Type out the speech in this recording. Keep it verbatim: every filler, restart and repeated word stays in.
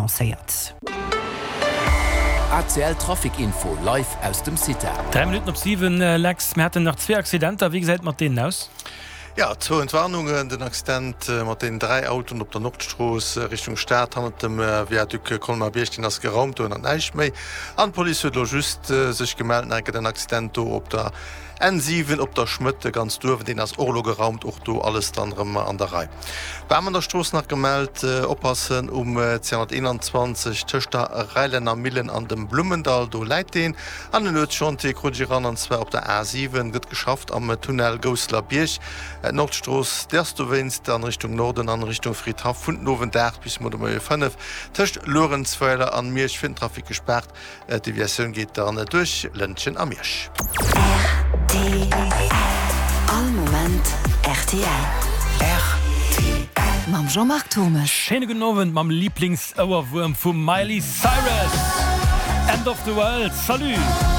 annoncéiert. A C L Trafic Info live aus dem Cita. Dräi Minutten op siwen, Lex, mir haten nach zwee Accidenter. Wéi gesäit et mat deenen aus? Jo, zwou Entwarnungen, Den Accident mat deenen dräi Autoen op der Nordstrooss Richtung Stad hannert dem Viaduc Colmar-Bierg, deen ass geraumt, do ënnert näischt méi. An d'Police huet elo just sech gemellt, nach eng Kéier den Accident do op der N siwen op der Schmëtte ganz duerwen, deen ass och elo geraumt, och do alles dann erëm an der Rei. Bam an der Strooss nach gemellt, oppassen um zweehonnerteenanzwanzeg tëscht der Rheinlänner Millen an dem Blummendall, do läit deen. An en Nuetschantier krut ech eran, an zwar op der A siwen gëtt geschafft am Tunnel Gousseler Bierg. D'Nordstrooss, déi ass dowéinst an Richtung Norden an Richtung Fridhaff vun den Owend aacht bis muer de Moie fënnef tëscht Luerenzweiler an Miersch fir den Trafic gespaart. D'Deviatioun geet dann duerch Lëntgen a Miersch. R T L. All Moment R T L. R T L. Mam Jean-Marc Thommes. Schéine gudden Owend mam Lieblingsouerwuerm vum Miley Cyrus, End of the World. Salut!